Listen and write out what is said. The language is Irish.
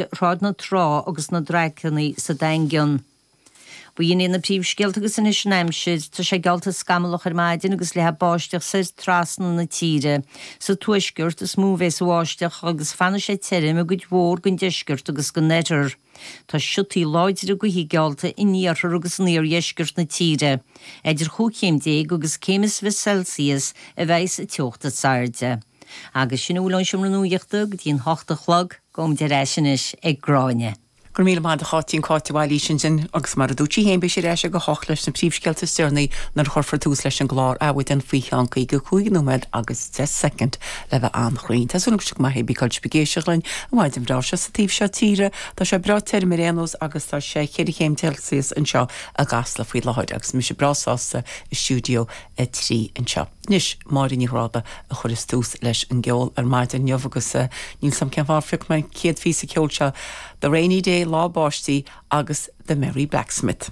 Shráid na Trá agus na Draiceanna sa Daingean. B'in iad na príomhscéalta agus anois an aimsir. Tá sé geallta scamallach ar maidin agus leathfaidh báisteach soir trasna na tíre. Sa tuaisceart is mó a bheas an bháisteach agus fanfaidh sé tirim i gcuid mhór den deisceart agus den oirthear. Tá siotaí láidre gaoithe geallta in iarthar agus in iardheisceart na tíre. Idir chúig chéim déag agus céim is 20 Celsius a bheas an teocht is airde. Agus sin a bhfuil ón Seomra Nuachta go dtí an hocht a chlog. Gabhaimid ar ais anois ag Gráinne. Go raibh míle maith agat a Cháitín, Cáit de Bhailís ansin agus mar a dúirt sí féin beidh sí ar ais ag a hocht leis na príomhscéalta is deireanaí nuair a chuirfear tús leis an gclár Adhmhaidin faoi cheann 55 nóiméad agus 10 soicind le bheith an-chruinn. Tá súil agam go bhfuil sibh go maith ag dul ag éisteacht linn an mhaidin bhreá seo sa taobh seo tíre. Tá sé breá tirim ar aon nós agus tá sé cheithre chéim Celsius anseo i gCasla faoi láthair agus mise breá sásta i stiúideo 3 anseo. Anois, Máire Ní Ghráda a chuireas tús leis an gceol ar maidin inniu agus níl 's a'm cén fáth ar phioc mé an chéad phíosa ceoil seo, The Rainy Day, Lá Báistí agus The Merry Blacksmith.